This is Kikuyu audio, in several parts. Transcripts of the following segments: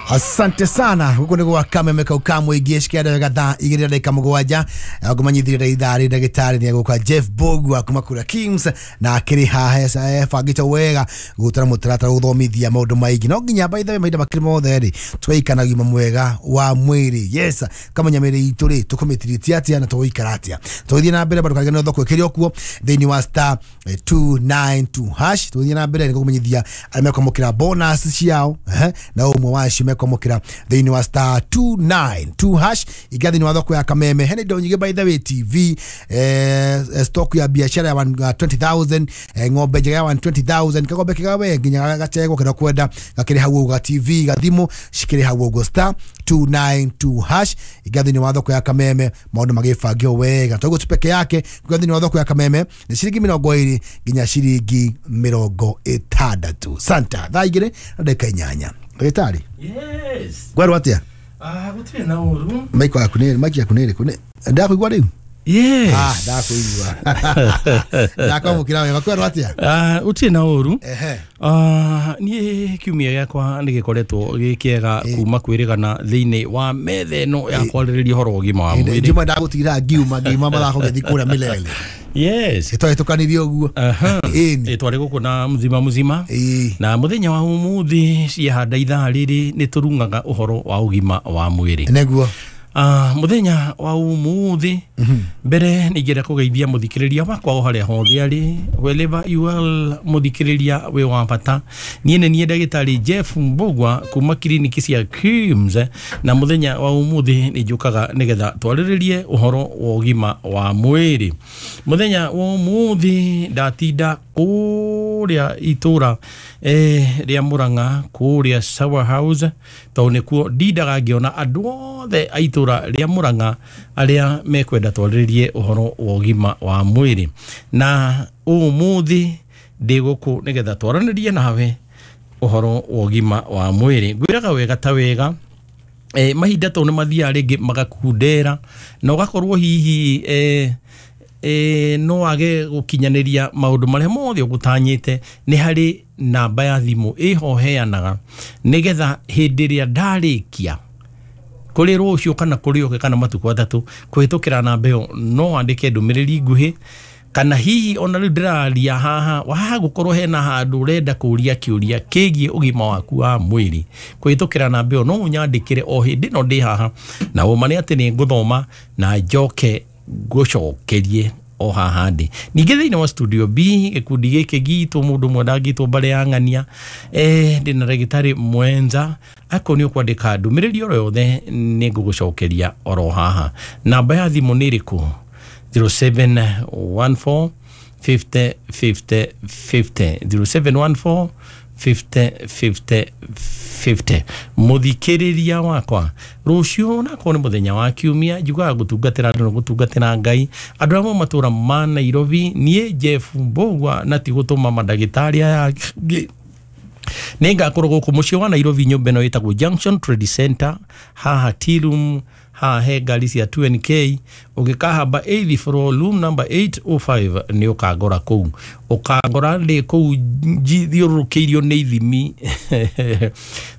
Asante sana. Guku nĩ gwa Kameme kau ka mũingĩ cikienda wega thaa 2 na ndagĩka 7. Ngũmanyithĩria ithaa rĩ ndagĩtarĩ nĩ egũka Jeff Mbugua kuma kũrĩa Kings, na akĩrĩ haha ebangĩte wega gũtara mũtaratara gũthomithia maũndũ maingĩ. No nginya by the way mahinda makĩrĩ mothe rĩ tũgaikara na ũgima mwega wa mwĩrĩ. Yes, kamenya mĩĩrĩ itũ rĩ tũkũmĩtiriti atĩa na tũgũikara atĩa. Tũgĩthiĩ na mbere bado karigano thoko ĩkĩrĩ o kuo thĩinĩ wa star 292 hash. Tũgĩthiĩ na mbere nĩ gũkũmenyithia arĩa mekwamũkĩra bonus ciao, na ũmwe wacio mekwamũkĩra thĩinĩ wa star 292 hash. Ingia thĩinĩ wa thoko ya Kameme, hena indo nyingĩ by the way, TV, stock ya biashara ya 120,000, ng'ombe njega ya 120,000, kagombe kega we nginya gacegwo kĩrĩa kwenda gakĩrĩ hau ũguo, ga TV, gathimũ cikĩrĩ hau ũguo, star 292 hash. Ingia thĩinĩ wa thoko ya Kameme maũndũ magĩbangio wega, toguo tu peke yake. Kuingia thĩinĩ wa thoko ya Kameme nĩ ciringi 20 nginya ciringi 60. Santa thaa 2 na ndagĩka 8. Ndagĩtarĩ. Yes. Ngwerwo atĩa? Ah, gũtirĩ na ũru. Maiko yaku nĩ maiki yaku nĩ ĩrĩkũ? Nĩ ndakũigua rĩu? Yes. Ah, ndakuigua. Ndakwamũkĩra wega. Kwerwo atĩa? Ah, gũtirĩ na ũru. Ehe. Ah, niĩ kiumia gĩakwa nĩ gĩkoretwo gĩ kĩega kuma kwĩrĩgana thĩinĩ wa metha ĩno ya kwarĩrĩria ũhoro wa ũgima wa mwĩrĩ. Njuma ndagũtigĩra ngiuma mathako ngĩthiĩ kũrĩa Milele. Yes. Ĩtwahĩtũkanirie ũguo. Aha. Ĩni. Twarĩ gũkũ na mzima mzima. Ĩĩ. Na mũthenya wa ũmũthĩ ciahanda ithaa rĩrĩ nĩ tũrung'aga ũhoro wa ũgima wa mwĩrĩ. Nĩguo. Mũthenya wa ũmũthĩ mbere nĩ ingĩenda kũgeithia mũthikĩrĩria wakwa o harĩa hothe arĩ, wherever you are, mũthikĩrĩria wĩ wa bata. Niĩ nĩ niĩ ndagĩtarĩ Jeff Mbugua kuma kiriniki cia KIMS, na mũthenya wa ũmũthĩ nĩ njũkaga nĩgetha twarĩrĩrie ũhoro wa ũgima wa mwĩrĩ. Mũthenya wa ũmũthĩ ndatinda kũrĩa itũra rĩa Murang'a, kũrĩa Sour House, tondũ nĩkuo ndindaga ngĩona andũ othe a itũra rĩa Murang'a arĩa mekwenda twarĩrĩrie ũhoro wa ũgima wa mwĩrĩ. Na ũmũthĩ ndĩ gũkũ nĩgetha twaranĩrie nawe ũhoro wa ũgima wa mwĩrĩ. Ngwĩraga wega ta wega, mahinda tondũ nĩ mathiaga rĩngĩ magakundera na ũgakorwo hihi no wage gũkinyanĩria maũndũ marĩa mothe ũgũtanyĩte. Nĩ harĩ namba ya thimũ ĩho heanaga nĩgetha hĩndĩ ĩrĩa ndarĩkia kũrĩ rũciũ kana kũrĩ ũke kana matukũ 3 kũhĩtũkĩra namba ĩyo no wandĩke ndũmĩrĩri nguhĩ, kana hihi ona rĩu ndĩraria haha waha gũkorwo hena handũ ũrenda kũria kĩũria kĩgiĩ ũgima waku wa mwĩrĩ, kũhĩtũkĩra namba ĩyo no ũnyandĩkĩre o hĩndĩ ĩno ndĩ haha, na ũma nĩ atĩ nĩ ngũthoma na njoke ngũcokerie o haha ndĩ. Ningĩ thĩinĩ wa studio B gĩkundi gĩkĩ gitũ mũndũ ũmwe ndangĩtwo mbare ya ng'ania, ndĩna ndagĩtarĩ mwenza. Akorwo nĩ ũkwandĩka ndũmĩrĩri oro yothe nĩ ngũgũcokeria oro haha. Namba ya thimũ nĩ ĩrĩkũ? 0714 50 50 50, 0714 50 50 50. Mũthikĩrĩria wakwa, rũciũ nakorwo nĩ mũthenya wa kiumia, njugaga gũtungatĩra andũ na gũtungatĩra Ngai. Andũ arĩa matũra ma Nairobi, niĩ Jeff Mbugua na ti gũtũma mandagĩtarĩ aya angĩ, nĩ ngakorwo gũkũ mũciĩ wa Nairobi, nyũmba ĩno ĩtagwo Junction Trade Center, haha tea room, haha he ngari cia 2NK. Ũngĩkahamba 8th floor room number 805 nĩ ũkangora kũu. Ũkangora ndĩ kũu thiũrũrũkĩirio nĩ ithimi,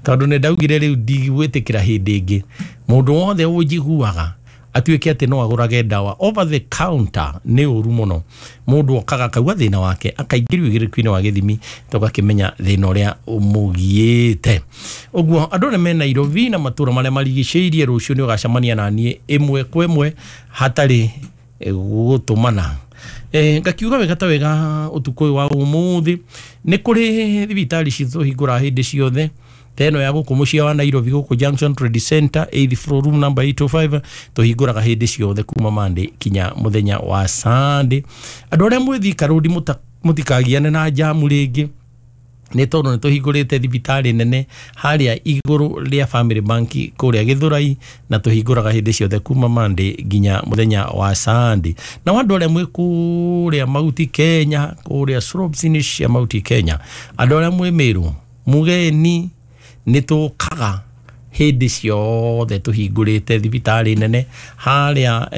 tondũ nĩ ndaugire rĩu ndigwĩtĩkĩra hĩndĩ ĩngĩ mũndũ wothe ũnjiguaga atuĩke atĩ no agũrage ndawa over the counter. Nĩ ũru mũno. Mũndũ okaga akauga thĩna wake, akaingĩrio ũigĩrĩku-inĩ wa gĩthimi, tũgakĩmenya thĩna ũrĩa ũmũgiĩte. Ũguo andũ arĩa me Nairobi na matũra marĩa marigicĩirie, rũciũ nĩ ũgacemania na niĩ ĩmwe kwa ĩmwe hatarĩ gũtũmana. Ngakiuga wega ta wega ũtukũ ũyũ wa ũmũthĩ nĩ kũrĩ thibitarĩ citũ hingũraga hĩndĩ ciothe, ta ĩno ya gũkũ mũciĩ wa Nairobi, gũkũ Junction Trade Center, 8th floor room number 805, tũhingũraga hĩndĩ ciothe kuma Monday kinya mũthenya wa Sunday. Andũ arĩa mwĩ Thika Road mũtikagiane na jamu rĩngĩ, nĩ tondũ nĩ tũhingũrĩte thibitarĩ nene harĩa igũrũ rĩa Family Bank kũrĩa Gĩthũrai, na tũhingũraga hĩndĩ ciothe kuma Monday nginya mũthenya wa Sunday. Na andũ arĩa mwĩ kũrĩa Mount Kenya, kũrĩa slopes-inĩ cia Mount Kenya, andũ arĩa mwĩ Meru, Mugeni, nĩ tũkaga hĩndĩ ciothe tũhingũrĩte thibitarĩ nene harĩa.